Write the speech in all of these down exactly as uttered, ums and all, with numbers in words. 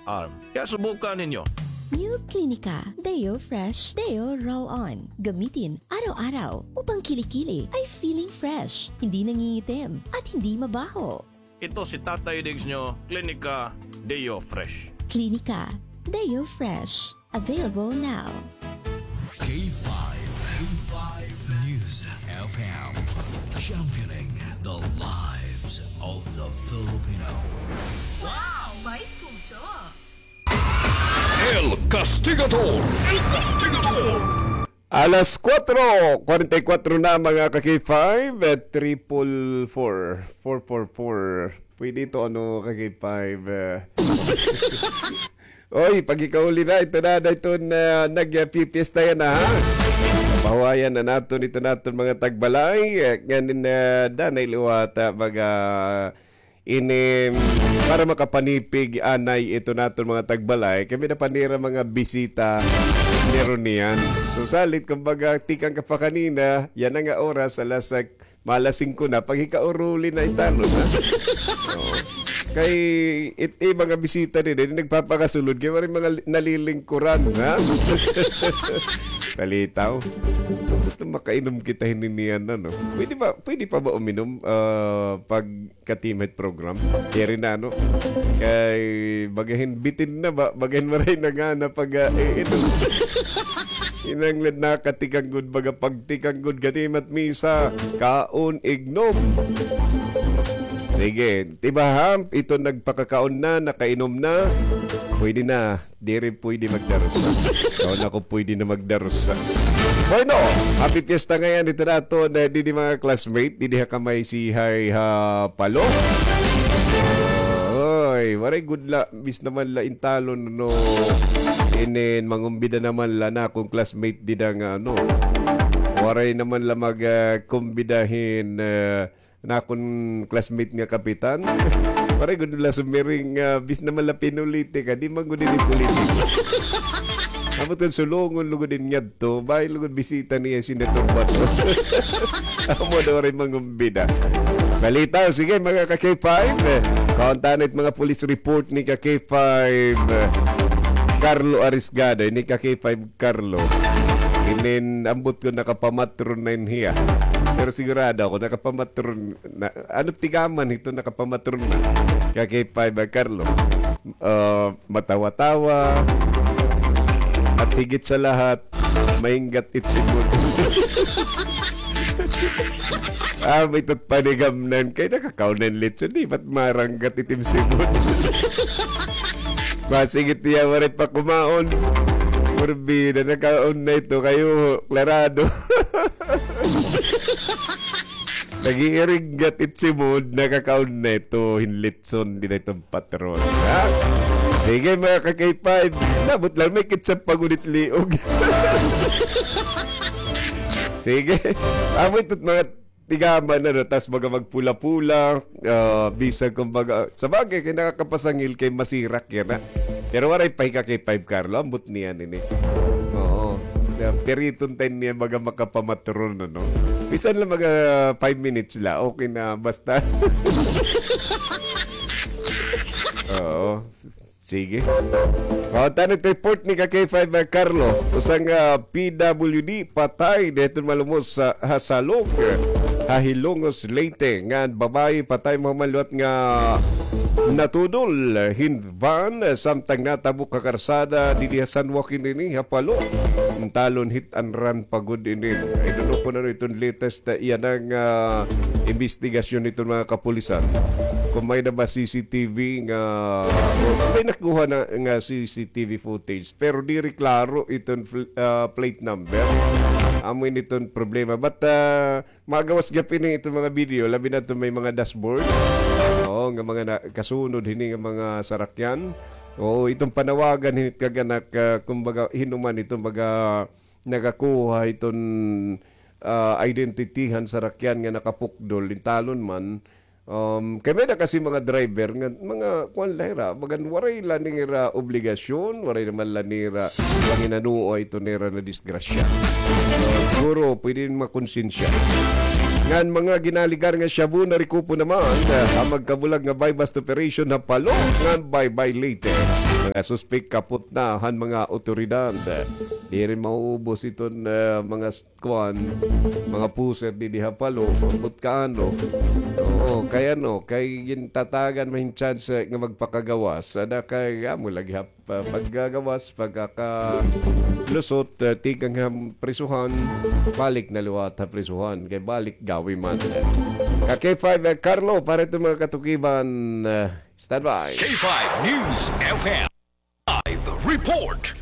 Arm. Kaya subukan ninyo. New Clinica Deo Fresh Deo Roll-On. Gamitin araw-araw upang kilikili ay feeling fresh, hindi nangingitim at hindi mabaho. Ito si Tatay Diggs nyo, Clinica Deo Fresh. Clinica Deo Fresh. Available now. K five, K five News F M, championing the lives of the Filipino. Wow! May puso! El Castigador! El Castigador! Alas kuwatro kuwarenta y kuwatro na, mga ka-K five, eh, triple four, four four four. Pwede ito, ano, ka-K five, eh. Oy, pagkakauli na, ito na, na ito na, nagpipiesta yana, ha? Pahuwayan na naton, ito naton mga tagbalay, eh, nganin, eh, danay liwata, baga, ini, para makapanipig, anay, ito naton mga tagbalay, kami na pa nira mga bisita, meron niyan. So, salit, kumbaga, tikang ka pa kanina, yana nga oras, alas, eh, mga alas singko na, paghikauruli na italon, ha? Oo. Kay, it, it, mga bisita din, eh, nagpapakasulod, kay waray mga li-, nalilingkuran, ha? Palitaw. Ito, makainom kita hini niyan, ano? Pwede ba, pwede pa ba uminom, ah, pag katimit program. Kaya rin na, ano, kay bagahin bitin na ba, bagahin maray na nga na pag, ah, eh, ito. Inanglan na katikanggod, baga pagtikanggod, katimat misa, kaon, ignom. Sige, tiba ha, ito nagpakakaon na, nakainom na, pwede na. Diri pwede magdarusa. Kaon ako pwede na magdarusa. Bueno, happy fiesta ngayan. Ito na ito, na, didi mga classmate, didi ha kamay si Hay ha Palo. Oy, waray good la, bis naman la intalon, no. Inin, mangumbida naman la na akong classmate dida nga, ano. Waray naman la mag, ah, kumbidahin, ah, na akon classmate nga kapitan. Waray gud la sumiring, ah, bis naman la pinulitika, di man gud ini politiko. Ambot kon sulungon lugod in ngadto, bay lugod bisita niya Senator Bato. Amo daw rin mangumbida. Balita, sige, mga ka-K five, eh, kauntanit mga police report ni ka-K five, eh, Carlo Arisgado, ni ka-K five Carlo. Inin ambot ko nakapamatron na in hiya. Pero sigurado ako, nakapamatron na. Ano tigaman ito, nakapamatron na. Ka-K five, ah, Carlo. Ah, matawa-tawa. At higit sa lahat, mainggat it simod. Ah, may tot panigamnan kay nakakaon na in litson, di ba't maranggat it im simod? Masigit niya, waray pa kumaon. Purbi na nakaon na ito kayo, klarado. Nag-iiringgat it simod, nakakaon na ito, hin litson, di na ito patron, ha? Sige, mga ka-K five, labot lang, may ketchup pa gud it liog. Sige. Amo ito mga tigaman, ano, tas baga magpula-pula, ah, bisan kumbaga, sa bagay, kay nakakapasangil kay masirak yana, ha? Pero waray pa hi ka-K five Carlo, ambot niyan ini. Oo. Piriton tayo niya baga makapamatron, ano? Bisan lang mga five minutes la, okay na, basta. Oo. Sige. Kauntanit report ni ka-K five, ah, Carlo. Usa nga, ah, P W D patay didto malumos ha Salog, ha Hilongos, Leyte. Ngan babaye patay mahuman liwat nga natudol hin van, samtang natabok ha karsada didi ha San Joaquin ini ha Palo. Intalon hit and run pa gud ini. I don't know kon ano iton latest, ah, yana nga, ah, imbestigasyon hiton mga kapulisan. Kon may-ada ba C C T V nga, o may nakuha na nga C C T V footage, pero diri klaro iton fl-, ah, plate number. Amo ini iton problema. But, ah, magawas gihap ini iton mga video, labi na iton may mga dashboard. Oo, nga mga na-, kasunod hini nga mga sarakyan. Oo, iton panawagan hini it kaganak, ah, kumbaga, hin-o man iton baga nakakuha hiton, ah, identity han sarakyan nga nakapukdol, intalon man. Um, kay may-ada kasi mga driver nga, mga kuan la hira, bagan waray la nira obligasyon, waray naman la nira panginanoa ito nira na disgrasya. So, siguro, pwede makonsensya. Ngan mga ginaligar nga shabu narekupo naman, ah, ha magkabulag nga buy-bust operation ha Palo, ngan bye-bye Leyte. Mga suspek kapot na han mga awtoridad. Diri mauubos iton, ah, mga s-, kuan, mga pusher didi ha Palo, ambot kaano. Oo, kay ano, kay gintatagan man hin chance nga magpakagawas. Ada kay amo lagi ha pa-, paggagawas, pagkakalusot, ah, tikang ha prisuhan, balik na liwat ha prisuhan, kay balik gawi man. Ka K five, ah, Carlo, para iton mga katukiban, ah, standby. K five News F M. Live report.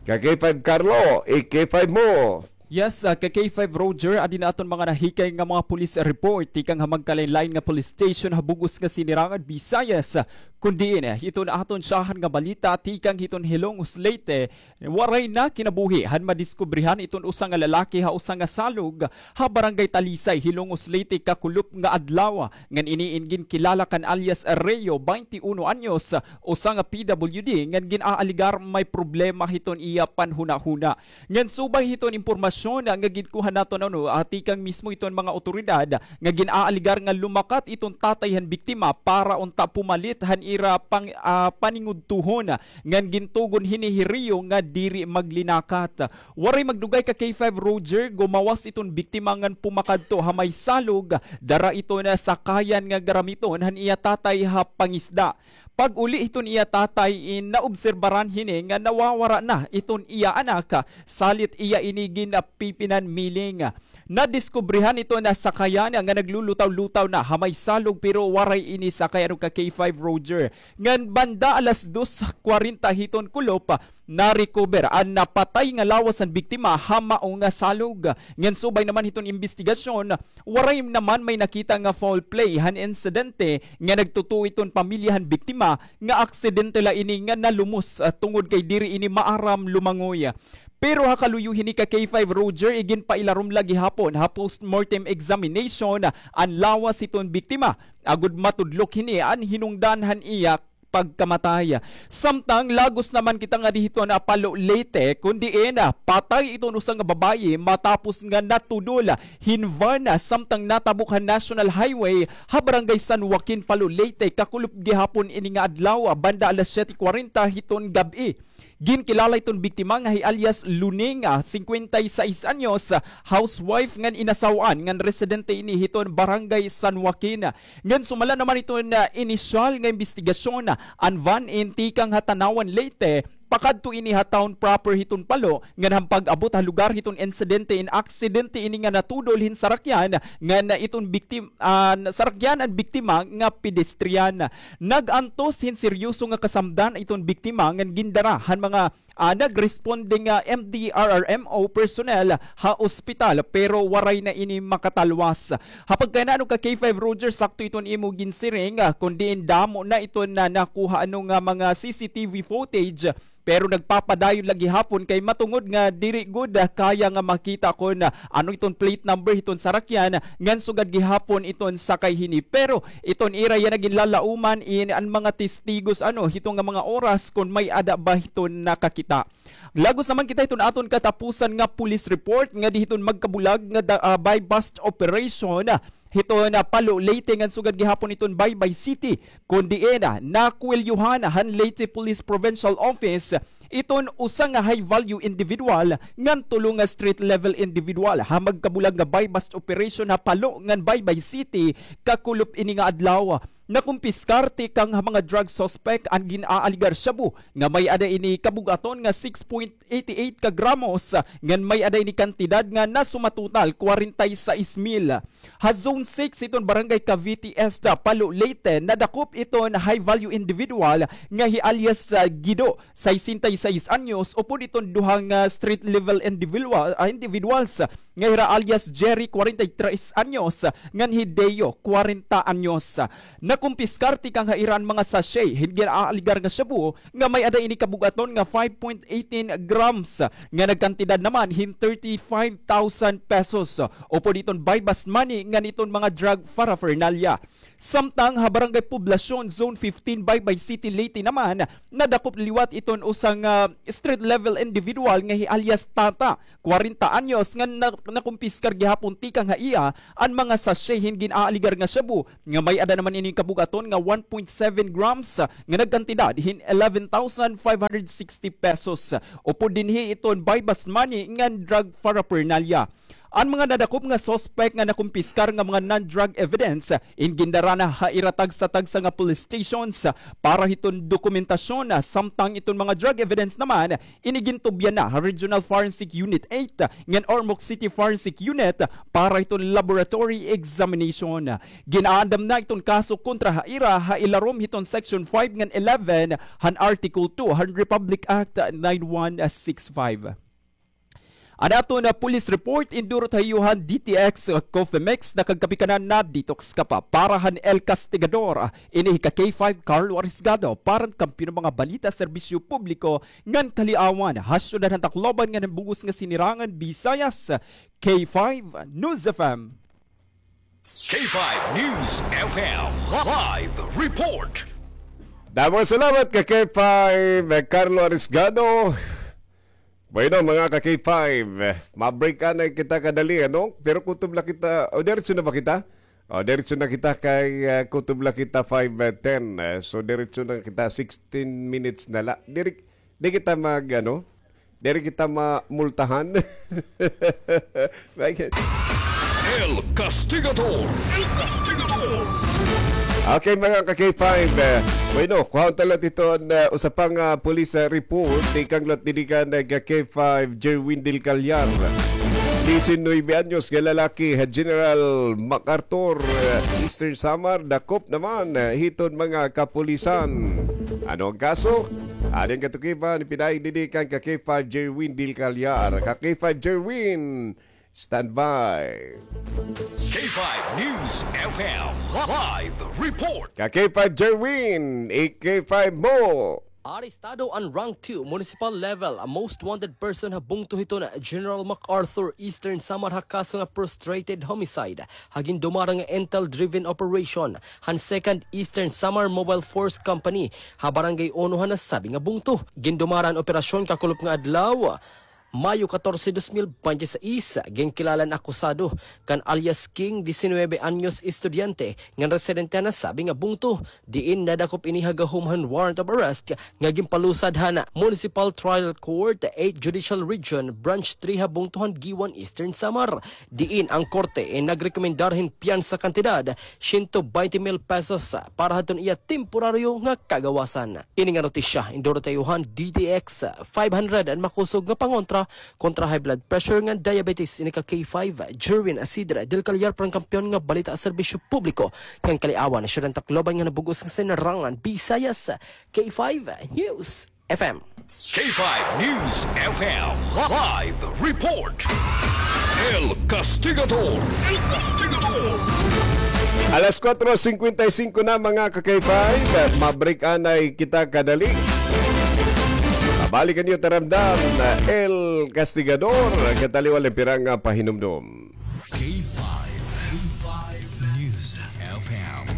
Ka K five Carlo, i-K five mo. Yes, ah, ka K five Roger, adi na aton mga nahikay nga mga police report tikang ha magkalain-lain nga police station ha bug-os nga Sinirangan, Visayas. Kun diin, ah, hiton aton syahan nga balita tikang hiton Hilongos, Leyte, waray na kinabuhi han madiskubrihan iton usa nga lalaki ha usa nga salog ha Barangay Talisay, Hilongos, Leyte, kakulop nga adlaw. Ngan ini in ginkilala kan alias Reo, baynte uno anyos, usa nga P W D, ngan gin-aaligar may problema hiton iya panhunahuna. Ngan subay hiton impormasyon nga ginkuha naton, ano, ah, tikang mismo hiton mga awtoridad nga gin-aaligar nga lumakat iton tatay han biktima para unta pumalit han ira pang-, ah, paningudtohon, ngan gintugon hini hi Reo nga diri maglinakat. Waray magdugay ka K five Roger, gumawas iton biktima ngan pumakadto ha may salog, dara iton sakayan nga garamiton han iya tatay ha pangisda. Pag-uli hiton iya tatay, in naobserbaran hini nga nawawara na iton iya anak, salit iya ini ginpipinanmiling. Nadiskubrihan iton sakayan nga naglulutaw-lutaw na ha may salog, pero waray ini sakay, ano, ka K five Roger. Ngan banda alas dos kwarenta hiton kulop, na-recover an napatay nga lawas han biktima ha mao nga salog. Ngan subay naman hiton imbestigasyon, waray naman may nakita nga foul play han insidente, nga nagtutuo iton pamilya han biktima nga aksidente la ini nga nalumos, ah, tungod kay diri ini maaram lumangoy. Pero ha kaluyo hini ka K five Roger, iginpailarom la gihapon ha postmortem examination an lawas hiton biktima, agod matudlok hini an hinungdan han iya pagkamatay. Samtang lagos naman kita ngadi hiton Palo, Leyte, kun diin patay iton usa nga babaye matapos nga natudol hin van samtang natabok ha National Highway ha Barangay San Joaquin, Palo, Leyte, kakulop gihapon ini nga adlaw, banda alas siyete kwarenta hiton gab-i. Ginkilala iton biktima nga hi alias Luning, ah, singkwenta y sais anyos, ah, housewife ngan inasaw-an ngan residente ini hiton Barangay San Joaquin. Ngan sumala naman hiton, ah, inisyal nga imbestigasyon, ah, an van in tikang ha Tanauan, Leyte, pakadto ini ha town proper hiton Palo, ngan han pag-abot ha lugar hiton insidente in aksidente ini nga natudol hin sarakyan, ngan iton biktim-, ah, sarakyan an biktima nga pedestrian. Nag-antos hin seryoso nga kasamdan iton biktima ngan gindara han mga, ah, nagresponde nga M D R R M O personnel ha ospital, pero waray na ini makatalwas. Ha pagkayana, ano, ka K five Roger, sakto iton imo ginsiring, ah, kun diin damo na iton nakuha, ano, nga mga C C T V footage, pero nagpapadayon la gihapon kay matungod nga diri gud, ah, kaya nga makita kon, ah, ano iton plate number hiton sarakyan, ngan sugad gihapon iton sakay hini. Pero iton ira yana ginlalauman in an mga testigos, ano, hito nga mga oras kon may-ada ba hiton nakakita. Lagos naman kita hiton aton katapusan nga police report ngadi hiton magkabulag nga da-, ah, buy-bust operation, ah, hiton, ah, Palo, Leyte ngan sugad gihapon hiton Baybay City, kun diin, ah, nakuwelyohan han Leyte Police Provincial Office iton usa nga high-value individual ngan tulo nga street-level individual ha magkabulag nga buy-bust operation ha Palo ngan Baybay City kakulop ini nga adlaw. Nakumpiskar tikang ha mga drug suspect an gin-aaligar shabu nga may-ada ini kabug-aton nga six point eighty eight ka gramos, ngan may-ada ini kantidad nga nasumatotal kwarenta y sais mil. Ha Zone six hiton Barangay Cavite Este, Palo, Leyte, nadakop iton high-value individual nga hi alias, ah, Guido, sesenta y seis anyos, upod iton duha nga street-level individual, ah, individuals nga hira alias Jerry, kwarenta y tres anyos, ngan hi Deo, kwarenta anyos. Nakumpiskar tikang ha ira an mga sachet hin gin-aaligar nga shabu nga may-ada ini kabug-aton nga five point eighteen grams nga nagkantidad naman hin thirty-five thousand pesos. Upod iton buy-bust money ngan iton mga drug paraphernalia. Samtang ha Barangay Poblacion, Zone fifteen, Baybay City, Leyte naman, nadakop liwat iton usa nga street-level individual nga hi alias Tata, kwarenta anyos, nga na-, nakumpiskar gihapon tikang ha iya an mga sachet hin gin-aaligar nga shabu nga may-ada naman ini bug-aton nga one point seven grams, ah, nga nagkantidad hin eleven thousand five hundred sixty pesos. Upod dinhi iton buy-bust money ngan drug paraphernalia. An mga nadakop nga suspect nga nakumpiskar nga mga non-drug evidence, in gindara na ha ira tagsa-tagsa nga police stations para hiton dokumentasyon, samtang iton mga drug evidence naman, ini gintubyan na ha Regional Forensic Unit eight ngan Ormoc City Forensic Unit para hiton laboratory examination. Gin-aandam na iton kaso kontra ha ira ha ilarom hiton Section five ngan eleven han Article two han Republic Act nine one six five. An aton police report, indurot ha iyo han D T X Coffee Mix, nakagkape ka na, na-detox ka pa. Para han El Castigador, ini hi ka K five Carlo Arisgado, para han kampiyon nga mga balita, serbisyo publiko, ngan kaliawan, ha syudad han Tacloban ngan han bug-os nga sinirangan Visayas, K five News F M. K five News F M Live Report. Damo nga salamat ka K five, Carlo Arisgado. Bueno, mga ka K five, ma-break anay kita kadali, ano? Pero kutob la kita, o, diretso na ba kita? O, diretso na kita kay, ah, kutob la kita five ten. Eh, so, diretso na kita, sixteen minutes na la. Diri, di kita mag, ano? Diri kita mamultahan. Bakit? El Castigador. El Castigador. Okay, mga ka K five. Eh, bueno, kuhaon ta la iton, eh, usa pa nga, ah, police, ah, report. Tikang la didi kan, eh, ka K five, Jerwin Del Callar. Diecinueve anyos nga lalaki, eh, General MacArthur, eh, Eastern Samar, dakop naman, eh, hiton mga kapulisan. Ano an kaso? Adi an katukiban, ipinaagi didi kan ka K five Jerwin Del Callar. Ka K five Jerwin, standby. K five News F M Live Report. Ka K five Jerwin, i-K five mo. Arestado an rank two municipal level, a most wanted person ha bungto hiton General MacArthur, Eastern Samar, ha kaso nga frustrated homicide ha gindumara nga intel-driven operation han Second Eastern Samar Mobile Force Company ha Barangay Uno han nasabi nga bungto. Gindumara an operasyon kakulop nga adlaw, Mayo catorce, dos mil bente seis. Ginkilala an akusado kan alias King, diecinueve anyos, estudyante ngan residente han nasabi nga bungto, diin nadakop ini ha gahom han warrant of arrest nga ginpalusad han Municipal Trial Court, eighth Judicial Region, Branch three ha bungto han Guiuan, Eastern Samar. Diin an korte in nagrekomendar hin piyansa kantidad siyento baynte mil pesos para hadton iya temporaryo nga kagawasan. Ini nga notisya indurot ha iyo han D T X five hundred, an makusog nga pangontra kontra high blood pressure ngan diabetes. Ini ka K five, Jerwin Asidre Del Callar, para han kampiyon nga balita, serbisyo publiko ngan kaliawan, syudad han Tacloban ngan han bug-os nga sinirangan Visayas, K five News F M. K five News F M Live Report. El Castigador. El Castigador. Alas kuwatro singkwenta y singko na, mga ka K five. Ma-break anay kita kadali. Mabalik an iyo taramdam, El Castigador. Kataliwan la pira nga pahinumdom. K five, K five News F M,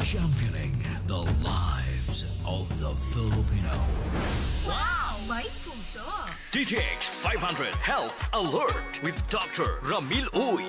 championing the lives of the Filipino. Wow! May puso! D T X five hundred Health Alert with Doctor Ramil Uy.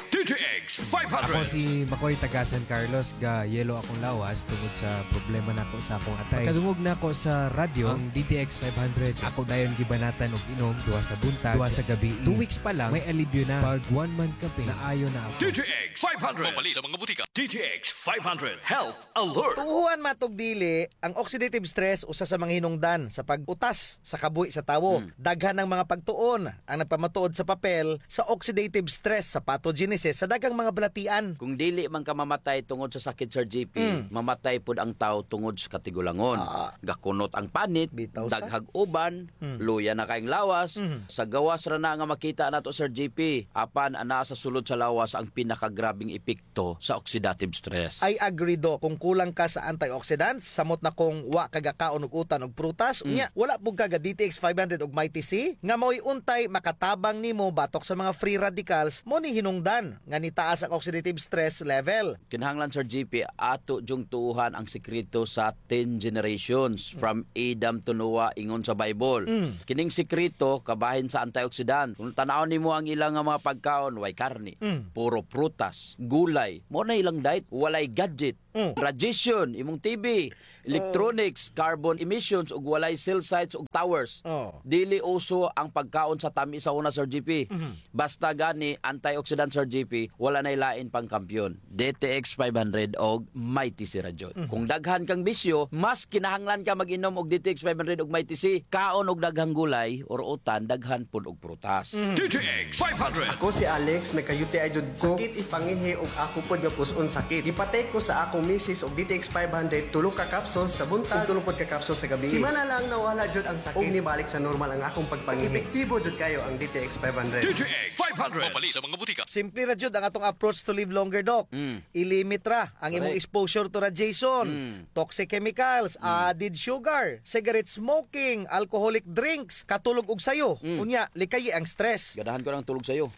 D T X five hundred. Ako si Makoy taga San Carlos, ga-yellow akong lawas tungod sa problema nako sa akong atay. Pagkadungog nako sa radyo, ang D T X five hundred, ako dayon gibanatan og inom, duha sa buntag, duha sa gabii. Two weeks pa lang, may alibyo na. Pag one month ka pin, naayo na ako. D T X five hundred. Mapalit sa mga butika. D T X five hundred Health Alert. Tuohan man tog dili, ang oxidative stress usa sa mga hinungdan sa pag-utas sa kabuhi sa tawo. Hmm. Daghan ang mga pagtuon ang nagpamatuod sa papel sa oxidative stress sa pathogenesis sa daghang mga balatian. Kung dili man ka mamatay tungod sa sakit, Sir J P, hmm, mamatay pod ang tawo tungod sa katigulangon. Ah. Gakunot ang panit, bitaw sa daghag uban, hmm, luya na kay ang lawas. Hmm. Sa gawas ra na nga makita nato, Sir J P, apan anaa sa sulod sa lawas ang pinakagrabeng epekto sa oxidative stress. I agree, Doc. Kung kulang ka sa antioxidants, samot na kung wa ka gakaon og utan og prutas, mm, unya, wala pud ka ga D T X five hundred og Mighty C, nga mao'y untay makatabang nimo batok sa mga free radicals, mao ni hinungdan nga nitaas ang oxidative stress level. Kinahanglan, Sir G P, ato jung tuohan ang sekreto sa ten generations, from Adam to Noah, ingon sa Bible. Mm. Kining sekreto kabahin sa antioxidant. Kung tan-awon nimo ang ila nga mga pagkaon, way karne, Mm. puro prutas, gulay. Mao na ilang diet, walay gadget. Mm. Radiation, imong T V, electronics, carbon emissions, ug walay cell sites ug towers. Oh. Dili uso ang pagkaon sa tamis sa una, Sir G P. Mhm. Basta gani, antioxidant, Sir G P, wala nay lain pang kampiyon. D T X five hundred og Mighty C ra jud. Mhm. Kung daghan kang bisyo, mas kinahanglan ka mag-inom og D T X five hundred og Mighty C. Kaon og daghang gulay or utan, daghan pud og prutas. Mhm. D T X five hundred. Ako si Alex, nagka-U T I jud ko. Sakit it pangihi ug ako pod nga pus-on sakit. Gipatay ko sa akong misis og D T X five hundred, tulo ka capsules sa buntag ug tulo pod ka capsules sa gabi. Simana lang nawala jud ang sakit ug nibalik sa normal ang akong pagpangihi. Epektibo jud kayo ang D T X five hundred. D T X five hundred. Mapalit sa mga butika. Simple ra jud ang atong approach to live longer, Doc. Mm. I-limit ra ang imong Correct. exposure to radiation, Mm. toxic chemicals, Mm. added sugar, cigarette smoking, alcoholic drinks, katulog og sayo. Mm. Unya, likayi ang stress. Ganahan ko ng tulog sayo.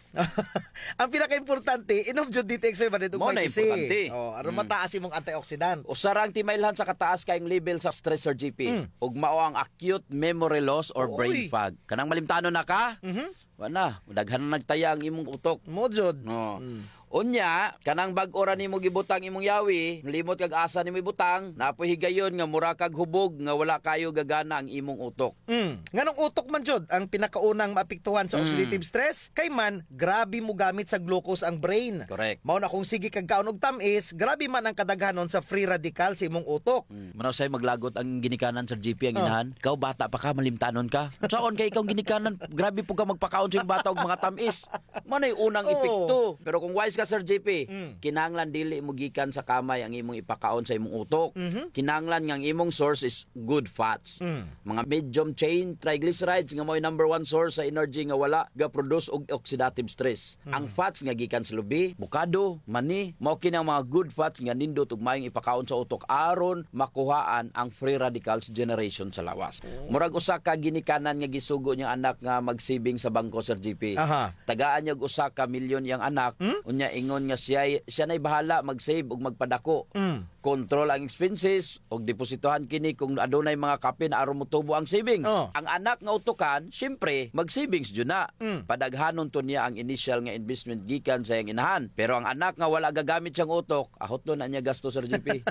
Ang pinakaimportante, inom jud D T X five hundred ug Mao na Mighty C. importante. Oh, aron Mm. mataas imong antioxidant. Usa ra ang timailhan sa kataas kayong level sa stress, Sir G P. Mm. Ug mao ang acute memory loss or brain Oy. fog. Kanang malimtanon na ka? Mhm. Wa na, daghan na nagtaya ang imong utok. Mao jud. No. Mm. Unya, kanang bag-o ra nimo gibutang imong yawi, limot kag asa nimo ibutang, naa poy higayon nga mura kag hubog nga wala kayo gagana ang imong utok. Mm. Nganong utok man jud ang pinakaunang maapektuhan sa Mm. oxidative stress? Kay man, grabe mogamit sa glucose ang brain. Correct. Mao na kung sige kag kaon og tam-is, grabe man ang kadaghanon sa free radical sa imong utok. Mm. Manaw say maglagot ang ginikanan, Sir G P, ang Oh. inahan. Ikaw, bata pa ka, malimtanon ka. Saon kay ikaw ginikanan, grabe po ka magpakaon sa imong bata og mga tam-is. Manay unang Oo. epekto. Pero kung wise ka, Sir G P, Mm. kinahanglan dili mo gikan sa kamay ang imong ipakaon sa imong utok. Mhm. Kinahanglan nga ang imong source is good fats. Mm. Mga medium chain triglycerides nga mao'y number one source sa energy nga wala ga-produce og oxidative stress. Mm. Ang fats nga gikan sa lubi, bukado, mani, mao kini ang mga good fats nga nindot ug maayong ipakaon sa utok aron makuhaan ang free radicals generation sa lawas. Oh. Murag usa ka ginikanan nga gisugo niyang anak nga mag-saving sa bangko, Sir G P. Aha. Tagaan niya og usa ka milyon iyang anak, Hmm? unya ingon nga siya, siya na'y bahala mag-save ug magpadako. Mm. Control ang expenses, ug depositohan kini kung adunay mga kapin aron motubo ang savings. Oh. Ang anak nga utukan, siyempre, mag-savings jud na. Mm. Padaghanon to niya ang initial nga investment gikan sa iyang inahan. Pero ang anak nga wala gagamit siyang utok, ahot na niya gasto, Sir G P.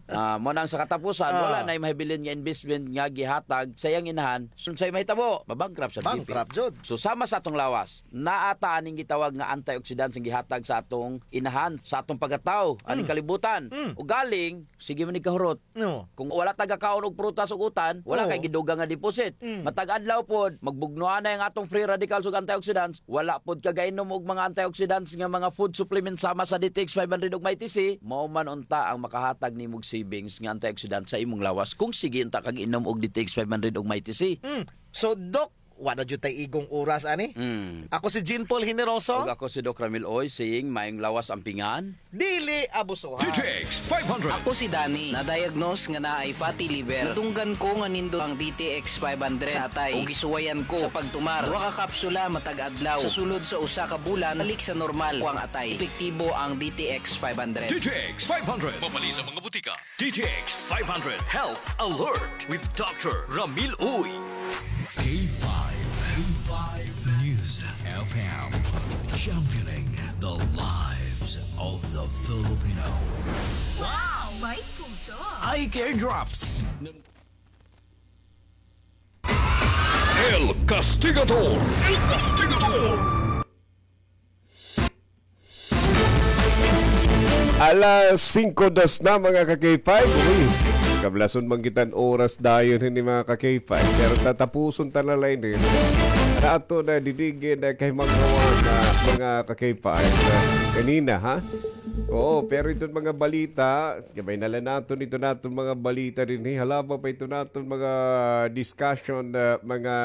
Ah, mao nang sa katapusan, Ah. wala na'y mahibilin nga investment nga gihatag sa iyang inahan. Unsay mahitabo? Mabankrupt, Sir G P. Bankrupt jud. So, sama sa atong lawas, naa ta aning gitawag nga antioxidants nga gihatag sa atong inahan, sa atong pagkatawo, aning Mm. kalibutan. Mm. Ugaling, sige man ni kahurot. No. Kung wala ta gakaon og prutas ug utan, wala Oo. kay gidugang nga deposit. Mm. Matag adlaw pod, magbugnoan na ang atong free radicals ug antioxidants, wala pod ka gainom og mga antioxidants nga mga food supplements sama sa D T X five hundred ug Mighty C, mao man unta ang makahatag nimog savings nga antioxidant sa imong lawas kung sige unta kag inom og D T X five hundred ug Mighty C. Mm. So, Doc, wa na jud tay igong oras ani. Mm. Ako si Jean Paul Generoso. Ug ako si Doc Ramil Oy, saying, maayong lawas ampingan. Dili abusuhan. D T X five hundred. Ako si Danny, na-diagnose nga naay fatty liver. Nadunggan ko nga nindot ang D T X five hundred sa atay. Ug gisuwayan ko sa pagtumar. Duha ka kapsula matag adlaw. Sa sulod sa usa ka bulan, balik sa normal ko ang atay. Epektibo ang D T X five hundred. D T X five hundred. Mapalit sa mga butika. D T X five hundred Health Alert with Doctor Ramil Uy. K five, K five News F M, championing the lives of the Filipino. Wow! May puso! Eye Care Drops. El Castigador! El Castigador! Alas singko dos na, mga ka-K five. Uy, kablason man kita an oras dayon hini, mga ka-K five. Pero tatapuson ta na la ini. Ato na, didigi na kay mga, mga ka-K five. Kanina, ha? Oo, pero iton mga balita, gabay na la naton iton aton mga balita dinhi. Halaba pa iton aton mga discussion, ah, mga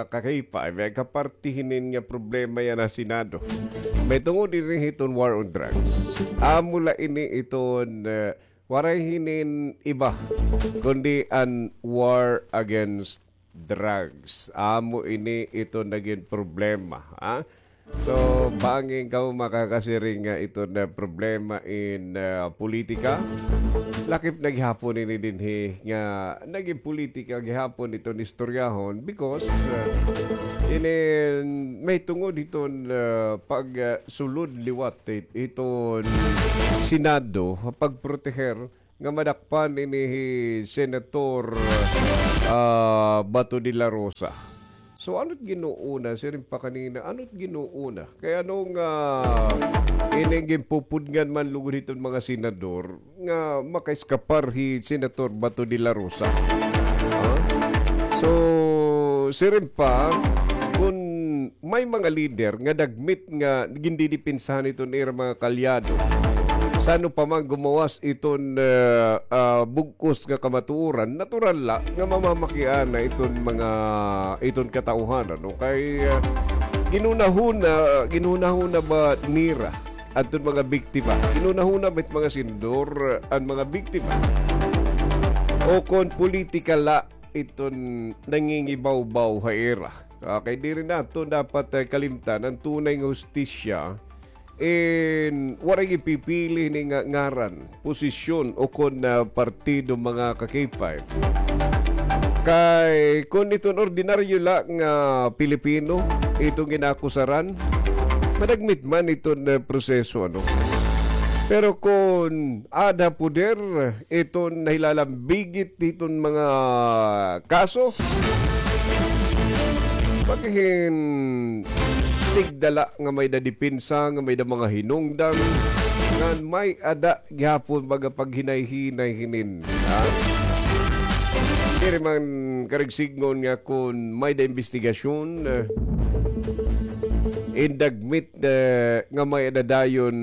ka-K five. May kapar- ti hinin nga problema yana ha Senado. May tungod ini hiton war on drugs. Amo la ini iton, eh, waray hinin iba, kundi an war against drugs. Amo ini iton nagin problema, ha? So, bangin kamo makakasiring nga iton problema in, ah, politika. Lakip na gihapon ini dinhi nga nagin politika gihapon iton istoryahon because, ah, inin mahitungod hiton, ah, pag, ah, sulod liwat hit-, hiton Senado, pagproteher nga madakpan ini hi Senator, ah, Bato de la Rosa. So, ano't ginuuna? Siring pa kanina, ano't ginuuna? Kay ano nga ining ginpupudngan man lugod hiton mga senador nga makaeskapar hi Senator Bato de la Rosa? Ha? So, siring pa, kun may mga lider nga dagmit nga gindidipinsahan iton ira mga kaalyado. San-o pa man gumawas iton, ah, ah, bug-os nga kamatuoran, natural la nga mamamakiana iton mga, iton katawhan, ano? Kay, ah, ginhunahuna, ginhunahuna ba nira adton mga biktima? Ginhunahuna ba it mga senador, ah, an mga biktima? O kon politika la iton nangingibawbaw ha ira. Ah, kay diri naton dapat, eh, kalimtan an tunay nga hustisya in waray gipipili hini nga ngaran, posisyon, o kon, ah, partido, mga ka-K five. Kay kon iton ordinaryo la nga Pilipino iton ginakusaran, madagmit man iton, eh, proseso, ano? Pero kon aada poder, iton nahilalambigit hiton mga kaso. Paghin tigda la nga may-ada depensa, nga may-ada mga hinungdan, ngan may-ada gihapon baga paghinay-hinay hinin, ha? Diri man karuyag sidngon nga kon may-ada imbestigasyon, eh, indagmit, eh, nga may-ada dayon,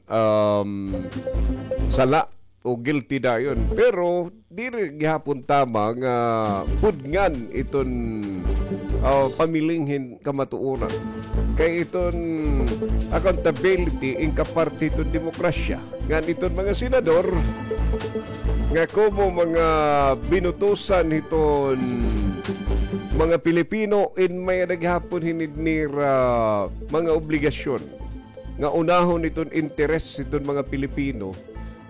um, sala o guilty dayon. Pero diri gihapon tama nga pudngan iton, ah, pamiling hin kamatuoran. Kay iton accountability in kaparte iton demokrasya. Ngan iton mga senador nga komo mga binutusan hiton mga Pilipino in may-ada gihapon hini nira mga obligasyon nga unahon iton interes hiton mga Pilipino,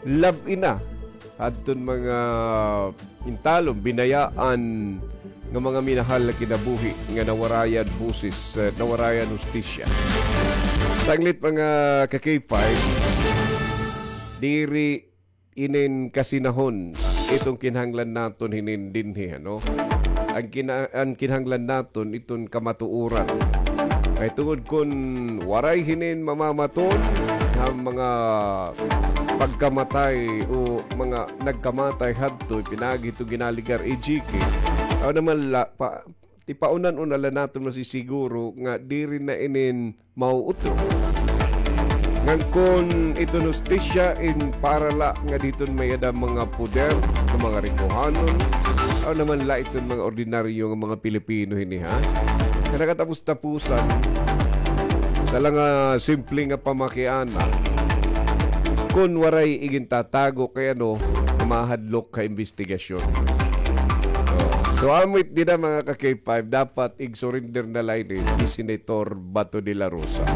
labi na hadton mga intalon, binayaan nga mga minahal nga kinabuhi nga nawarayan boses, eh, nawarayan hustisya. Sanglit, mga ka-K five, diri inin kasinahon iton kinahanglan naton hinin dinhi, ano? An kina-, an kinahanglan naton iton kamatuoran. Kay tungod kon waray hinin mamamaton ha mga pagkamatay o mga nagkamatay hadto pinaagi hito ginaligar, E J K, aw naman la, pa, tipaunan-una la naton masisiguro nga diri na inin mauutro. Ngan kon iton hustisya in para la nga diton may-ada mga poder nga mga rikohanon, aw naman la iton mga ordinaryo nga mga Pilipino hini, ha? Nga nakatapos-tapusan, sa la nga simple nga pamakiana, kon waray igintatago kay ano, mahadlok ka imbestigasyon. Oh. So, amo it dida, mga ka-K five, dapat ig-surrender na la ini hi Senator Bato de la Rosa.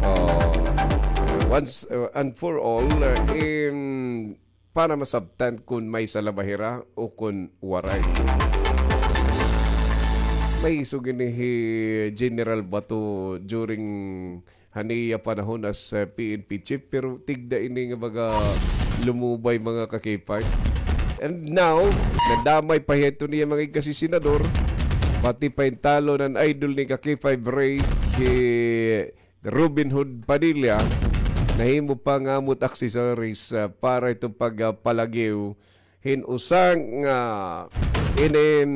Oh. Once, uh, and for all, uh, in, para masabtan kon may sala ba hira o kon waray. May isog ini hi General Bato during han iya panahon as, uh, P N P chief, pero tigda ini nga baga lumubay, mga ka-K five. And now, nadamay pa hiya iton iya mga igkasi-senador, pati pa in talon an idol ni ka-K five Ray, hi Robin Hood Padilla, nahimo pa nga amo it accessories, uh, para iton pag, uh, palagiw hin usa nga inin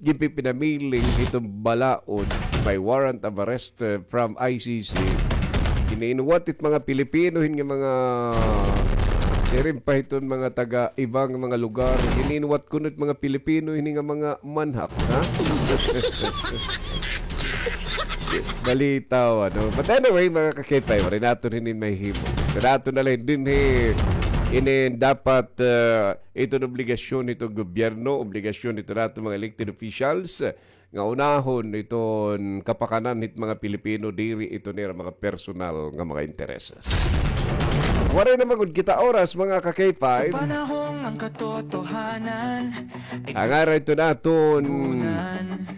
ginpipinamiling hiton balaod by warrant of arrest, uh, from I C C. Gin-iinwat it mga Pilipino hin nga mga siring pa hiton mga taga iba nga mga lugar. Gin-iinwat kuno it mga Pilipino hini nga mga manhak, ha? Balitaw, ano? But anyway, mga ka-K five, waray naton hinin mahihimo. Kay aton na la hin dinhi Inin dapat, ah, iton obligasyon hiton gobyerno, obligasyon hiton aton mga elected officials, nga unahon iton kapakanan hit mga Pilipino, diri iton ira mga personal nga mga intereses. Waray na man gud kita oras, mga ka-K five. Sa panahong ang katotohanan Ang ara ito naton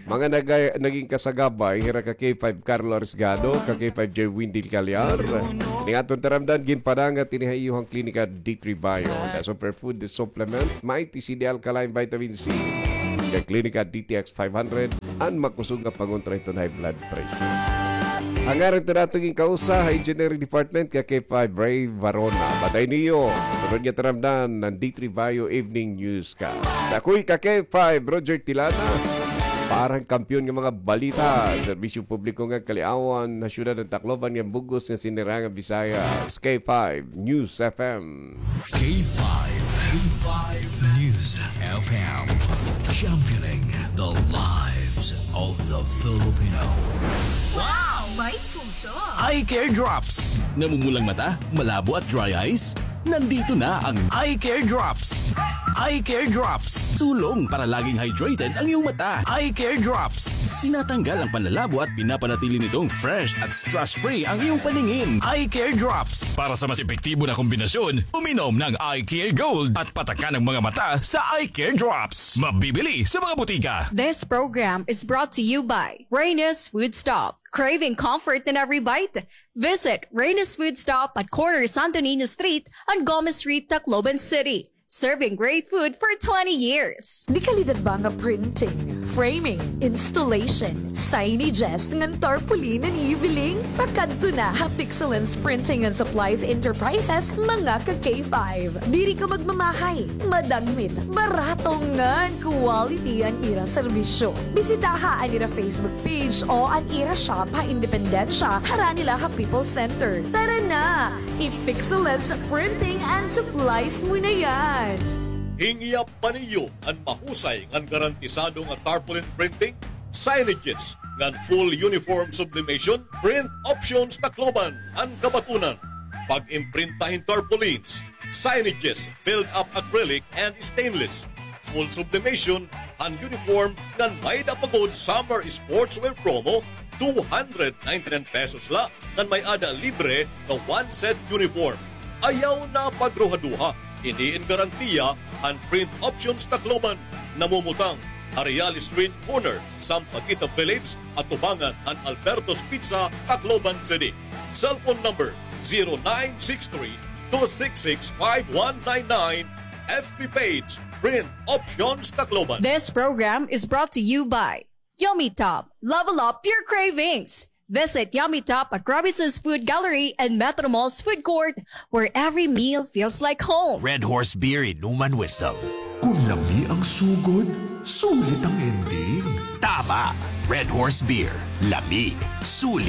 mga naga-, naging kasagabay, hira ka K five Carlo Arisgado, ka K five J Windel Calyar. Ning aton taramdan, ginpadangat ini ha iyo han Klinika D three Bio. The superfood supplement, may T C D alkaline vitamin C. Ka Klinika D T X five hundred, an makusog nga pangontra hiton high blood pressure. Ang ara ito naton ginkausa ha Engineering Department, ka K five Ray Varona. Patay niyo. Sunod nga taramdan, an D three Bio Evening News. Newscast. Ako'y ka K five, Roger Tilana. Para han kampiyon nga mga balita, serbisyo publiko nga kaliawan, ha siyudad han Tacloban nga bug-os nga sinirangan Visayas, K five News F M. K five, K five News F M, championing the lives of the Filipino. Wow! May puso! Eye Care Drops. Namumulang mata, malabo at dry eyes? Nandito na ang Eye Care Drops. Eye Care Drops. Tulong para laging hydrated ang iyong mata. Eye Care Drops. Tinatanggal ang panlalabo at pinapanatili nitong fresh at stress-free ang iyong paningin. Eye Care Drops. Para sa mas epektibo na kombinasyon, uminom ng Eye Care Gold at patakan ang mga mata sa Eye Care Drops. Mabibili sa mga butika. This program is brought to you by Reyna's Food Stop. Craving comfort in every bite? Visit Reyna's Food Stop at corner Santo Niño Street and Gomez Street, Tacloban City. Serving great food for twenty years. Dekalidad ba nga printing, framing, installation, signages ngan tarpaulin an iyo biling? Pakadto na ha Pixelens Printing and Supplies Enterprises, mga ka K five. Diri ka magmamahay, madagmit, barato ngan quality an ira serbisyo. Bisitaha an ira Facebook page o an ira shop ha Independencia, harani la ha People's Center. Tara na! I-Pixelens Printing and Supplies mo na yan! Hingyap pa niyo an mahusay ngan garantisado nga tarpaulin printing, signages, ngan full uniform sublimation? Print Options Tacloban an kabatunan. Pag-imprinta hin tarpaulins, signages, build-up acrylic and stainless, full sublimation han uniform ngan may-ada pa gud summer sportswear promo, two hundred ninety-nine pesos la ngan may-ada libre nga one set uniform. Ayaw na pagruhaduha, ini in garantiya han Print Options Tacloban. Namumutang ha Real Street corner, Sampaguita Village, atubangan han Alberto's Pizza, Tacloban City. Cellphone number, zero nine six three, two six six, five one nine nine. F B page, Print Options Tacloban. This program is brought to you by Yummy Top. Level up your cravings. Visit Yummy Top at Robinson's Food Gallery and Metro Mall's Food Court, where every meal feels like home. Red Horse Beer, Inuman Wisdom. Kun lami ang sugod, sulit ang ending. Tama! Red Horse Beer. Lami, sulit,